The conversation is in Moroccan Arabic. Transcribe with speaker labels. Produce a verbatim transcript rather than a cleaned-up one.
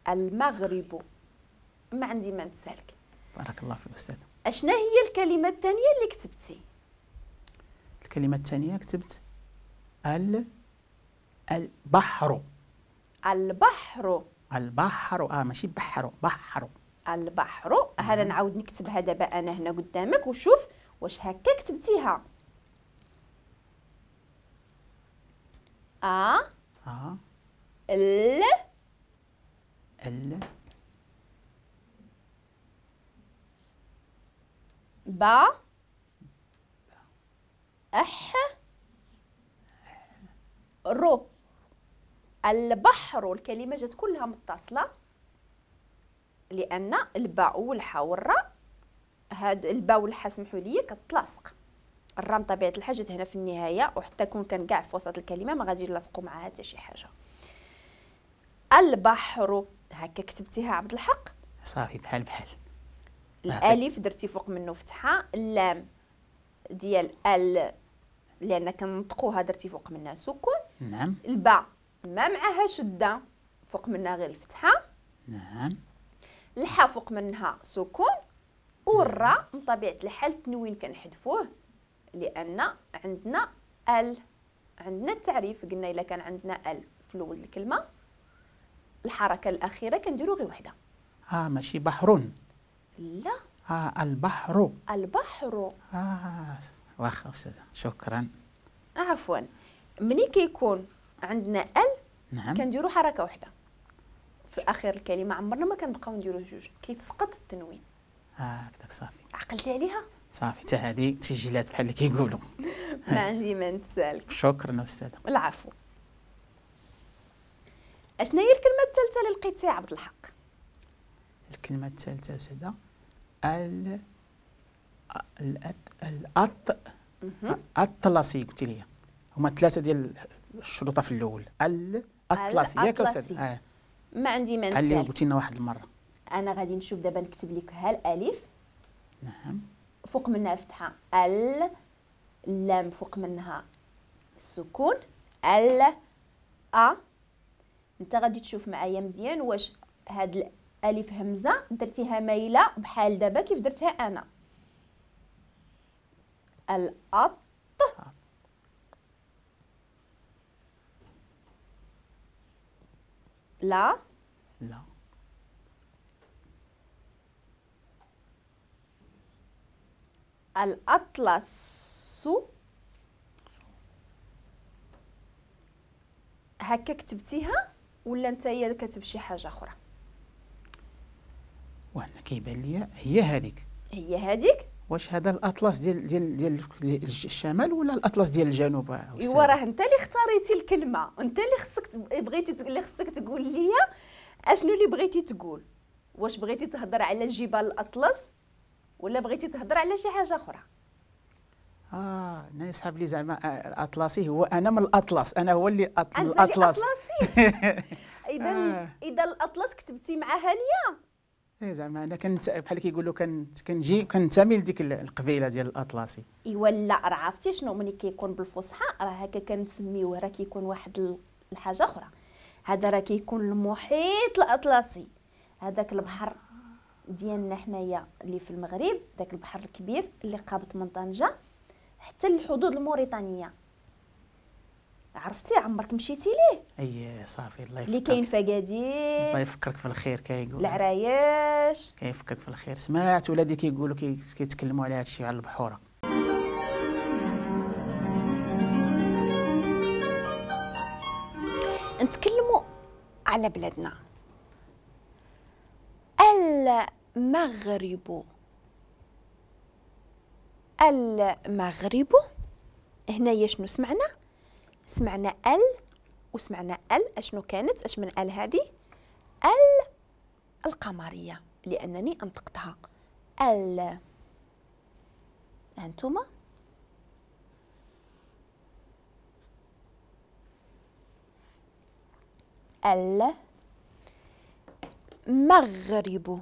Speaker 1: المغرب. ما عندي ما نتسالك.
Speaker 2: بارك الله فيك أستاذ.
Speaker 1: أشنا هي الكلمة الثانية اللي كتبتي؟
Speaker 2: الكلمة الثانية كتبت ال البحر.
Speaker 1: البحر.
Speaker 2: البحر، اه ماشي بحر، بحر.
Speaker 1: البحر. هذا نعاود نكتبها دابا انا هنا قدامك وشوف واش هكا كتبتيها. ا
Speaker 2: ا
Speaker 1: ال
Speaker 2: ال
Speaker 1: با اح رو. البحر. الكلمة جات كلها متصلة لأن الباء والحاء والراء، هاد الباء والحاء سمحوا لي كتلاصق. الراء بطبيعة الحال جات هنا في النهاية، وحتى كون كان كاع في وسط الكلمة ما غادي نلاصقوا معاها حتى شي حاجة. البحر هكا كتبتيها عبد الحق؟
Speaker 2: صافي بحال بحال.
Speaker 1: الألف درتي فوق منه فتحة، اللام ديال ال لأن كنطقوها درتي فوق منها سكون.
Speaker 2: نعم.
Speaker 1: الباء ما معها شدة، فوق منها غير الفتحة.
Speaker 2: نعم.
Speaker 1: الحاء فوق منها سكون، والراء من طبيعة الحال التنوين كنحذفوه لأن عندنا ال، عندنا التعريف قلنا إلا كان عندنا ال في الأول الكلمة الحركة الأخيرة كنديرو غير وحدة.
Speaker 2: اه ماشي بحر.
Speaker 1: لا.
Speaker 2: اه البحر.
Speaker 1: البحر.
Speaker 2: اه واخا أستاذة شكرا.
Speaker 1: عفوا. ملي كيكون عندنا ال،
Speaker 2: نعم،
Speaker 1: كنديرو حركة وحدة في اخر الكلمة، عمرنا ما كنبقاو نديرو جوج، كيتسقط التنوين.
Speaker 2: اه هكذاك صافي.
Speaker 1: عقلتي عليها؟
Speaker 2: صافي حتى هذه تسجلات بحال اللي كيقولوا.
Speaker 1: ما عندي ما نتسالك.
Speaker 2: شكرا أستاذة.
Speaker 1: العفو. اشنا هي الكلمة الثالثة اللي لقيتيها عبد الحق؟
Speaker 2: الكلمة الثالثة أستاذة ال الأط الأطلسي. قلتي لي هما ثلاثة ديال الشروطة في الأول. الأطلسي ياك أستاذ؟ آه.
Speaker 1: ما عندي ما نتسالك.
Speaker 2: اللي قلتي لنا واحد المرة.
Speaker 1: أنا غادي نشوف دابا نكتب لك ها الألف.
Speaker 2: نعم.
Speaker 1: فوق منها فتحة، ال، اللام فوق منها السكون، ال، أ. أنت غادي تشوف معايا مزيان واش هاد الألف همزة درتيها مايلة بحال دابا كيف درتها أنا. الأط لا
Speaker 2: لا
Speaker 1: الأطلس. هكا كتبتيها ولا انت هي كتب شي حاجة أخرى؟
Speaker 2: وانا كيبان لي هي هذيك.
Speaker 1: هي هذيك.
Speaker 2: واش هذا الأطلس ديال ديال ديال الشمال ولا الأطلس ديال الجنوب؟
Speaker 1: ايوا راه انت اللي اختاريتي الكلمة، انت اللي خصك بغيتي اللي خصك تقول لي اشنو اللي بغيتي تقول. واش بغيتي تهضر على جبال الأطلس ولا بغيتي تهضر على شي حاجة أخرى؟
Speaker 2: اه انا يسحب لي زعما الاطلسي هو انا من الاطلس، انا هو اللي أط...
Speaker 1: انت
Speaker 2: الاطلس.
Speaker 1: الاطلسي. اذا آه. اذا الاطلس كتبتي معها ليا.
Speaker 2: ايه زعما انا كنت بحال كيقولوا كنت كنجي كنتمي لديك القبيلة ديال الاطلسي.
Speaker 1: ايوا لا راه عرفتي شنو ملي كيكون بالفصحى راه هكا كنسميوه، راه كيكون واحد الحاجة اخرى. هذا راه كيكون المحيط الاطلسي، هذاك البحر ديالنا حنايا اللي في المغرب، داك البحر الكبير اللي قابط من طنجه حتى الحدود الموريتانيه. عرفتي عمرك مشيتي ليه؟
Speaker 2: اي صافي الله يفكرك.
Speaker 1: اللي كاين في اكادير.
Speaker 2: الله يفكرك في الخير كيقول
Speaker 1: العرايش.
Speaker 2: كيفكرك في الخير. سمعت ولادي كيقولوا كيتكلموا على هذا الشيء على البحوره.
Speaker 1: نتكلموا على بلادنا. المغرب. المغرب هنايا شنو سمعنا؟ سمعنا ال وسمعنا ال. اشنو كانت؟ اش من ال هذه؟ ال القمريه لانني انطقتها ال. انتما ال مغرب.